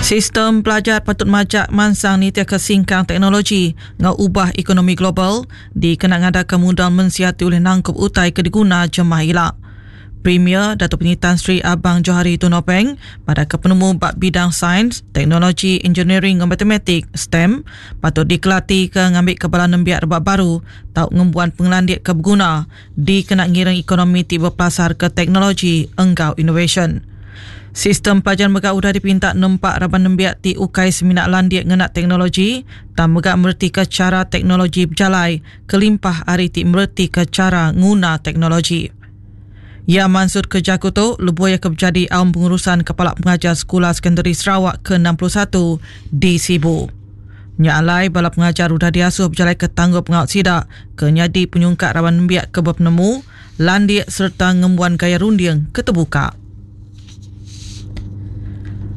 Sistem pelajar patut majak mansang nitihka singkang teknologi enggau ubah ekonomi global dikena ngadaka mudal mensia ti ulih nangkup utai ke diguna jemah ila. Premier Datuk Penyeri Tan Sri Abang Johari Tun Openg madahka penemu ba bidang Sains, Teknologi, Engineering enggau Matematik, STEM, patut dikelatika ngambika bala nembiak rebak baru tau ngembuan pengelandik ke beguna dikena ngiring ekonomi ti bepelasarka teknologi enggau inovasyen. Sistem pelajar mega udah dipinta nempa raban nembiak ti ukai semina landik ngena teknologi tang mega meretika chara teknologi bejalai kelimpah ari ti meretika chara nguna teknologi. Iya mansutka jaku tu lebuh iya ke bejadi Aum Pengurusan Kepala Pengajar Sekula Sekondari Sarawak ke 61 di Sibu. Nya alai bala pengajar udah diasuh bejalaika tanggungpengawa sida ke nyadi penyungkak raban nembiak ke bepenemu, landik sereta ngembuan gaya runding ke tebuka.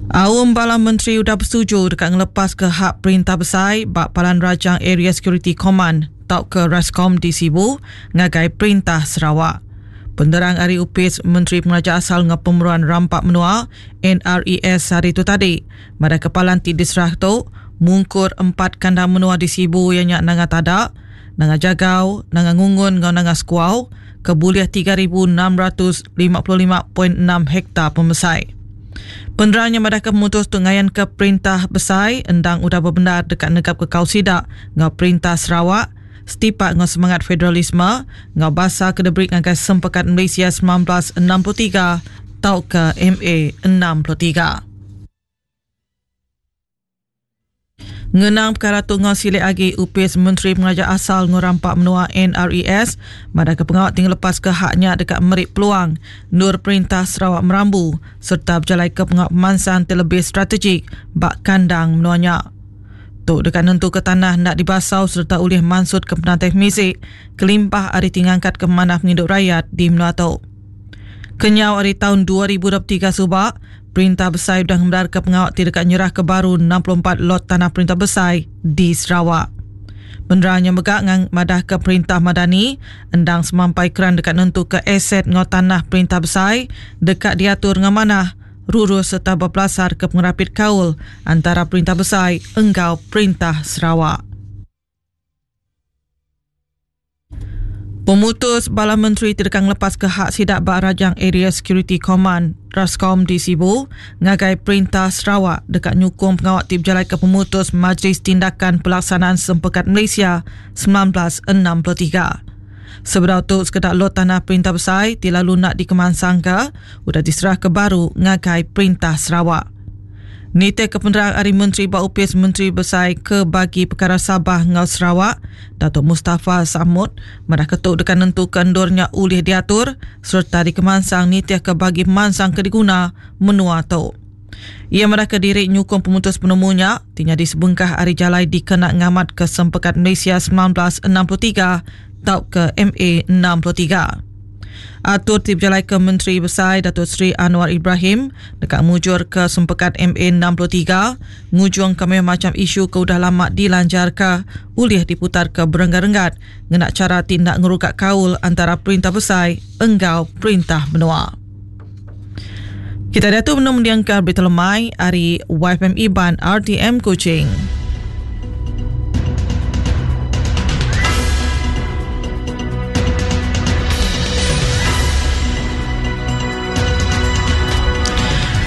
Aum bala menteri udah besetuju deka ngelepaska hak perintah besai ba Palan Rajang Area Security Command tauka Rascom di Sibu ngagai Perintah Sarawak. Penerang ari Opis Menteri Pengeraja Asal enggau Pemeruan Rampa Menua, NRES, sehari tu tadi madahka palan ti diserah tu mungkur empat kandang menua di Sibu iya nya Nanga Tada, Nanga Jagau, Nanga Ngungun enggau Nanga Sekuau ke bulih 3,655.6 hektar pemesai. Penerang nya madahka pemutus tu ngayanka perintah besai endang udah bebendar deka negapka kaul sida enggau perintah Sarawak setipak enggau semangat federalisme enggau basa ke diberi ngagai Sempekat Malaysia 1963 tauka MA 63. Ngenang pekara tu enggau silik agi, Opis Menteri Pengeraja Asal enggau Rampa Menua NRES madahka pengawa ti ngelepaska hak nya deka meri peluang endur Perintah Sarawak merambu sereta bejalaika pengawa pemansang ti lebih strategik ba kandang menua nya. Tu deka nentuka tanah enda dibasau sereta ulih mansutka penatai pemisi kelimpah ari ti ngangkatka pemanah pengidup rayat di menua tu. Kenyau ari taun 2023 suba, Perintah Besai udah ngemendarka pengawa ti deka nyerahka baru 64 lot tanah Perintah Besai di Sarawak. Penerang nya mega madahka Perintah Madani endang semampai keran deka nentuka aset enggau tanah Perintah Besai deka diatur enggau manah, rurus sereta bepelasarka pengerapit kaul antara Perintah Besai enggau Perintah Sarawak. Pemutus bala menteri ti deka ngelepaska hak sida ba Rajang Area Security Command, Rascom, di Sibu ngagai Perintah Sarawak deka nyukung pengawa ti bejalaika pemutus Majlis Tindakan Pelaksanaan Sempekat Malaysia 1963. Sebedau tu sekeda lot tanah perintah besai ti lalu enda dikemansangka udah diserahka baru ngagai Perintah Sarawak. Nitihka penerang ari Menteri ba Opis Menteri Besai ke Bagi Pekara Sabah enggau Sarawak, Datuk Mustapha Sakmud, madahka tu deka nentuka endur nya ulih diatur sereta dikemansang nitihka bagi pemansang ke diguna menua tu. Iya madahka diri nyukung pemutus penemu nya ti nyadi sebengkah ari jalai dikena ngamatka Sempekat Malaysia 1963 tauka MA 63. Atur ti bejalaika Menteri Besai Datuk Seri Anwar Ibrahim deka mujurka Sempekat MA 63 ngujungka mayuh macham isu ke udah lama dilanjarka ulih diputarka berenggat-renggat ngena chara ti enda ngeruga kaul antara perintah besai enggau perintah menua. Kita diatu benung mendingka berita lemai ari YFM Iban RTM Kuching.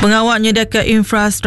Pengawa nyediaka infrastruktur.